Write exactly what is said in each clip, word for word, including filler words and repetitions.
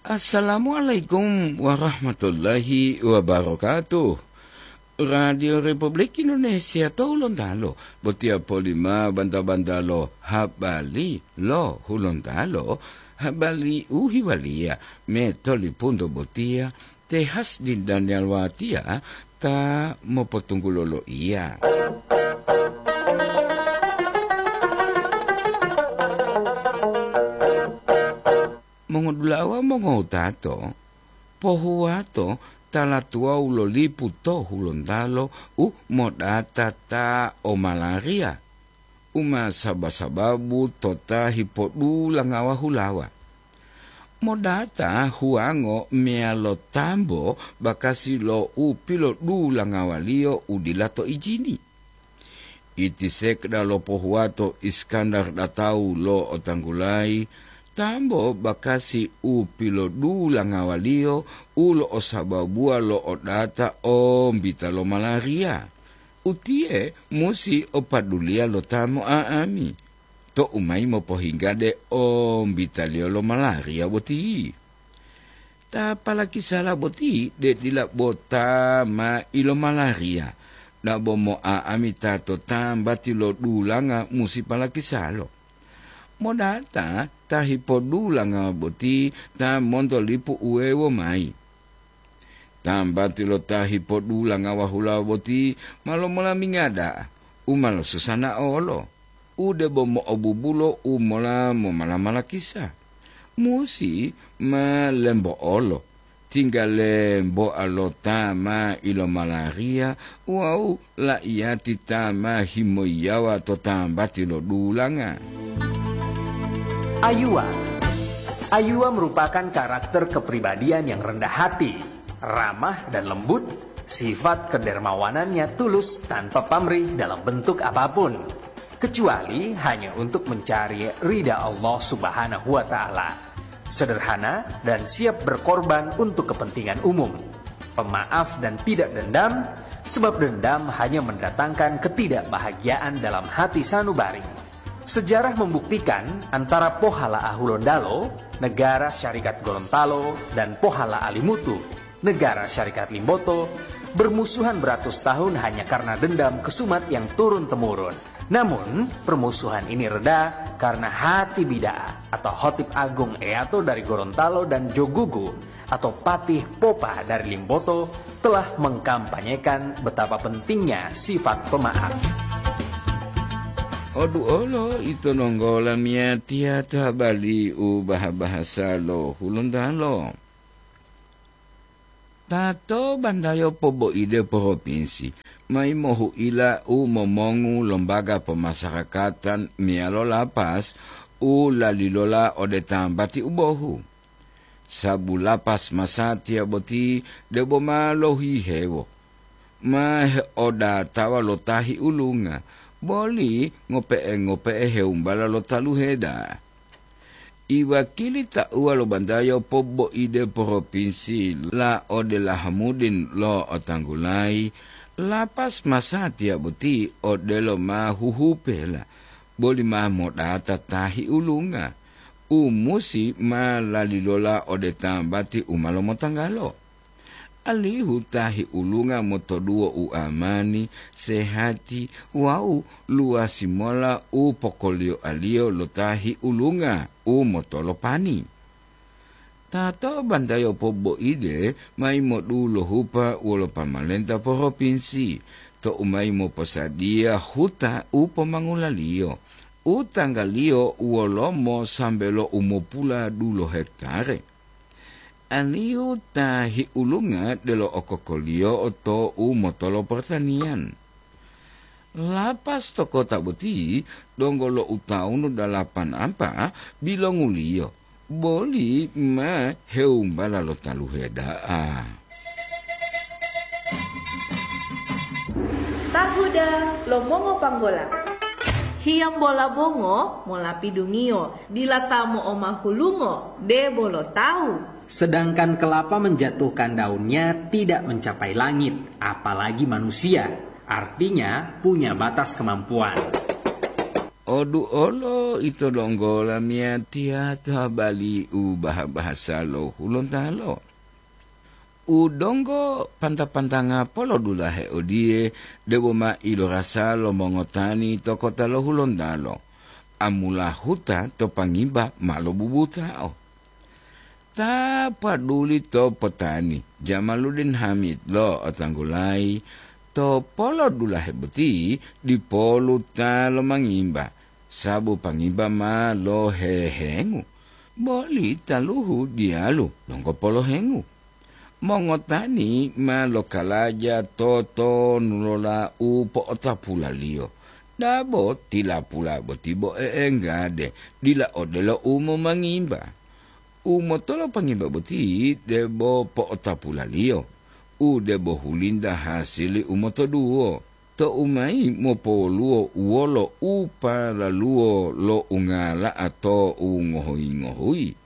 Assalamualaikum warahmatullahi wabarakatuh. Radio Republik Indonesia to Hulontalo, botiya polima banta-bantalo habari lo Hulontalo, habari u hiwaliya metolipunto botiya te Hasdin Daniel Watia ta mopotunggulo loiya. Mongodulawa mongowutato, pohuwato tala tuwawu lo lipu to Hulontalo u modata ta o malaria, u ma saba-sababu to ta hipodulanga wahulawa. Modata huwango meyalo tambo bakasi lo u pilodulangawaliyo u dila to ijini. Iti sekda lopohuwato Iskandar datau lo otanggulayi, tambo bakasi u pilodulangawaliyo u lo'osababuwa lo odata ombita lo malaria. Utiye musi o paduliya lo ta mo'a'ami, to'u mayi mopohingga de ombitaliyo lo malaria boti. Ta palakisala boti de dila bo ta ma ilomalaria, dabo mo'a'ami ta to tambati lo dulanga musi palakisalo. Modata ta hipodulanga boti ta monto lipu uwewo mayi. Tambati lo ta hipodulanga wahulawa boti ma lomolaminga da'a, u ma losusanaolo, u debo mo'obubulo u mola momala-malakisa. Musi ma lembo'olo, tingga lembo'a lo ta ma ilomalaria wawu la'iyati ta ma himoyiyawa to tambati lo dulanga. Ayuwa. Ayuwa merupakan karakter kepribadian yang rendah hati, ramah dan lembut, sifat kedermawanannya tulus tanpa pamrih dalam bentuk apapun, kecuali hanya untuk mencari ridha Allah Subhanahu wa Ta'ala. Sederhana dan siap berkorban untuk kepentingan umum. Pemaaf dan tidak dendam, sebab dendam hanya mendatangkan ketidakbahagiaan dalam hati sanubari. Sejarah membuktikan antara Pohala Ahulondalo, Negara Syarikat Gorontalo, dan Pohala Alimutu, Negara Syarikat Limboto, bermusuhan beratus tahun hanya karena dendam kesumat yang turun-temurun. Namun, permusuhan ini reda karena Hati Bida'a atau Hotib Agung Eato dari Gorontalo dan Jogugu atau Patih Popa dari Limboto telah mengkampanyekan betapa pentingnya sifat pemaaf. Odu olo ito nonggola miyatiya ta bali u baha-bahasa lo Hulontalo. Tato bandayo poboide poropinsi, mayi mohuila u momongu lombaga pomasarakatan meyalo lapas u lalilola ode tambati u bohu. Sabu lapas masatiya boti debo ma lohihewo, ma heodatawa lo tahi ulunga, boli ngope'e-ngope'e heumbala lo taluhe da'a. Iwakili tauwa lo bandayo poboide poropinsi la ode Lahamudin lo otanggulayi, lapas masatiya boti odelo ma huhupela, boli ma modata tahi ulunga, u musi ma lalilola ode tambati u ma lomotanggalo. Alihu tahi ulunga motoduwo u amani, sehati wawu luwasi mola u pokolioaliyo lo tahi ulunga u motolopani. Tato bantayo poboide mayi modulohupa wolo pamalenta poropinsi, to'u mayi moposadiya huta u pomangulaliyo, u tanggaliyo wolomo sambe lo umopula dulo hektare. Alihu tahi ulunga delo okokoliyo to u motolo pertanian. Lapas to kota boti donggo lo utawunu dalapan ampa bilonguliyo, boli ma heumbala lo taluhe da'a. Tahuda lo mongo panggola. Hiyambola bongo molapidungiyo, dila ta mo'omahulungo, debo lo tawu. Sedangkan kelapa menjatuhkan daunnya tidak mencapai langit, apalagi manusia. Artinya punya batas kemampuan. Odu olo ito donggo lamiyatiya to habali u baha-bahasa lo Hulontalo. U donggo panta-pantanga polodulahe odiye, debo ma ilorasa lo mongotani to kota lo Hulontalo, amulahuta to pangimba ma lobubutao. Ta paduli to potani, Jamaluddin Hamid lo Otanggulayi, to polodulahe boti dipolu ta lomangimba, sabu pangimba ma lohehengu, boli taluhu diyalu donggo polohengu. Mongotani ma lokalaja totonulola u po'otapulaliyo, dabo tilapula boti bo e'enggade, dila odelo u momangimba. U motolopangimba boti debo po'otapulaliyo, u debo hulinta hasili u motoduwo, to'u mayi mopowoluwo wolo u palaluwo lo ungala'a to u ngohuyi-ngohuyi.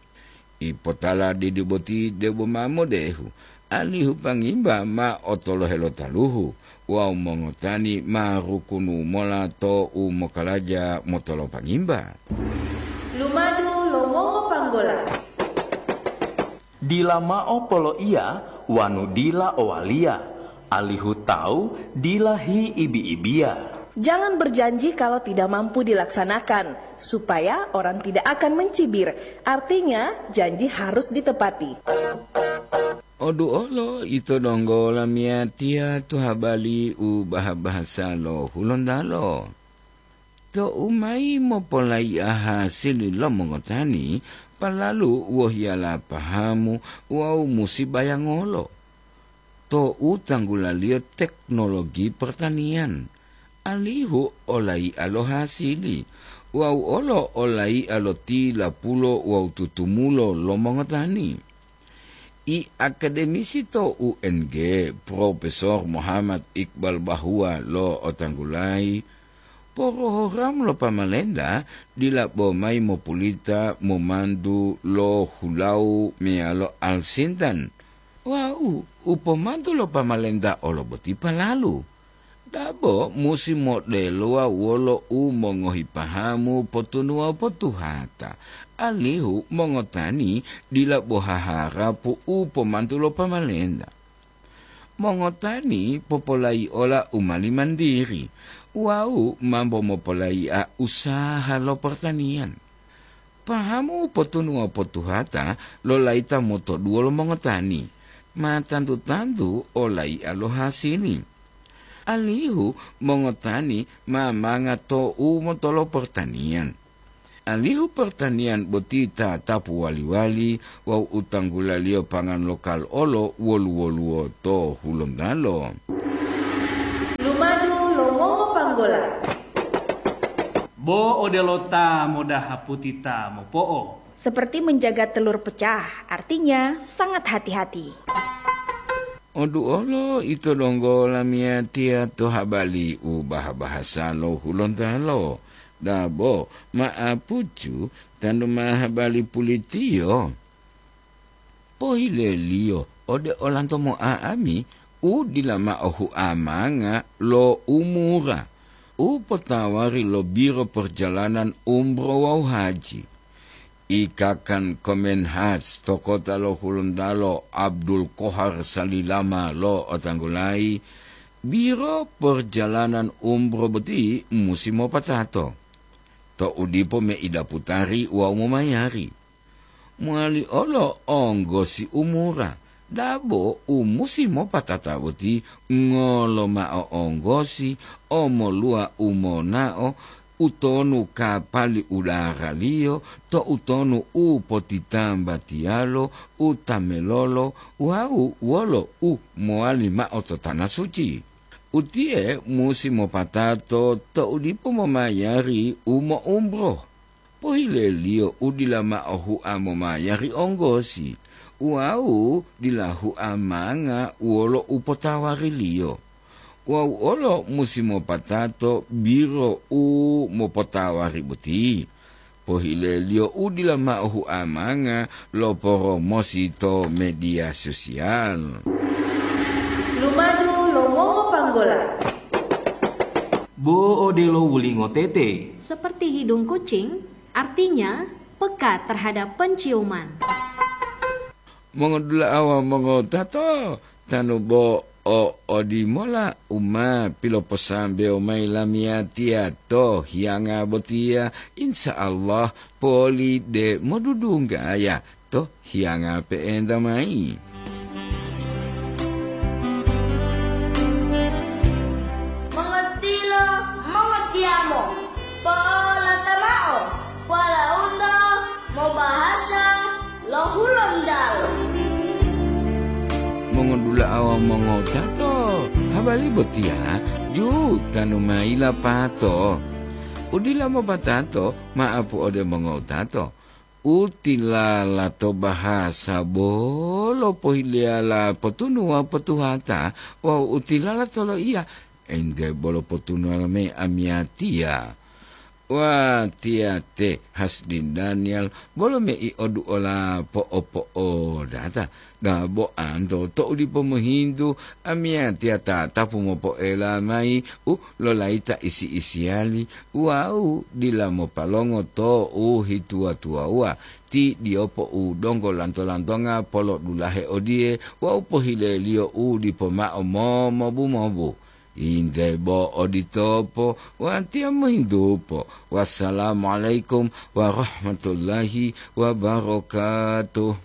Ipotala didi boti debo ma modehu, alihu pangimba ma otolohe lo taluhu wawu mongotani ma rukunu mola to u mokalaja motolopangimba. Lumadu lo mongopanggola. Dila mao poloiya wanu dila owaliya, alihu tawu dila hiibi-ibiya. Jangan berjanji kalau tidak mampu dilaksanakan, supaya orang tidak akan mencibir. Artinya, janji harus ditepati. Odu olo ito donggo lamiyatiya to habali u baha-bahasa lo Hulontalo. To'u mayi mopolayi'a hasili lo mongotani, palalu wohiyala pahamu wawu musi bayangolo. To'u tanggulaliyo teknologi pertanian, alihu olayi'a lo hasili, wawu olo olayi'a lo tilapulo wawu tutumulo lo mongotani. I akademisi to U N G, Profesor Muhammad Iqbal Bahwa lo Otanggulayi, porohoramu lo pamalenta dila bo mayi mopulita momantu lo hulawu meyalo alsintan. Wawu u pomantu lo pamalenta olo boti palalu. Dabo musi modelowa wolo u mongohi pahamu potunuwa potuhata, alihu mongotani dila bo haharapu u pomantu lo pamalenta. Mongotani popolayi'ola u mali mandiri wawu mambo mopolayi'a usaha lo pertanian. Pahamu potunuwa potuhata lo layita motoduwo lo mongotani, ma tantu-tantu olayi'a lo hasili. Alihu mongotani ma manga to u motolo pertanian. Alihu pertanian boti tatapu wali-wali wawu u tanggulaliyo pangan lokal olo wolu-woluwo to Hulontalo. Lumadu lo mongopanggola. Bo odelo ta modahaputi ta mopo'o. Seperti menjaga telur pecah, artinya sangat hati-hati. Odu olo ito donggo lamiyatiya to habali u baha-bahasa lo Hulontalo, dabo ma'apucu tanu ma habali pulitiyo. Pohileliyo ode olanto mo'a'ami u dila mao huamanga lo umura u potawari lo Biro Perjalanan Umroh wawu Haji. Ikakan Kemenhaj to kota lo Hulontalo Abdul Kohar Salilama lo otanggulayi, Biro Perjalanan Umroh boti musi mopatato. To'u dipo meida putari wawu momayari. Mowali olo onggosi umura, dabo u musi mopatata boti ngolo mao onggosi, omoluwa u monao, utonu kapali udaraliyo, to utonu u potitambatiyalo, u tamelolo, wawu wolo u mowali mao to tana suci. Utiye musi mopatato to'u dipo momayari u mo'umroh. Pohileliyo u dila mao hua momayari onggosi, wawu dila hua manga wolo u potawariliyo. Wawu olo musi mopatato biro u mopotawari boti. Pohileliyo u dila mao hua manga lo poromosi to media sosial. Lumadu lo mongopanggola. Bo odelo wulingo tete. Seperti hidung kucing, artinya peka terhadap penciuman. Mongodula'a wawu mongotato, tanu bo o odimola u ma piloposambewo mayi lamiyatiya to hiyanga botiya, insya Allah poli de modudunggaya to hiyanga pe'enta mayi. Mongotilo, mongotiyamo, po'olata mao, walaundo mobahasa lo Hulontalo. Mongodula'a wawu mongotato, habari botiya jutanu mayi lapato. Udila mopatato, maapu ode mongotato. U tilala to bahasa bolo pohileyala potunu wawu potuhata, wawu u tilala to loiya, ente bolo potunuwala mayi amiyatiya. Watiya te Hasdin Daniel bolo mei oduola po'opo'odata. Dabo anto to'u dipo mohintu, amiyatiya tatapu mopoela mayi u lolayita isi-isiyali wawu dila mopalongo to u hituwa-tuwawuwa. Ti diyopo u donggo lanto-lantonga polodulahe odiye wawu pohileliyo u dipo mao momobu-mobu. Inde bo oditopo, watiya mohintupo. Wassalamualaikum warahmatullahi wabarakatuh.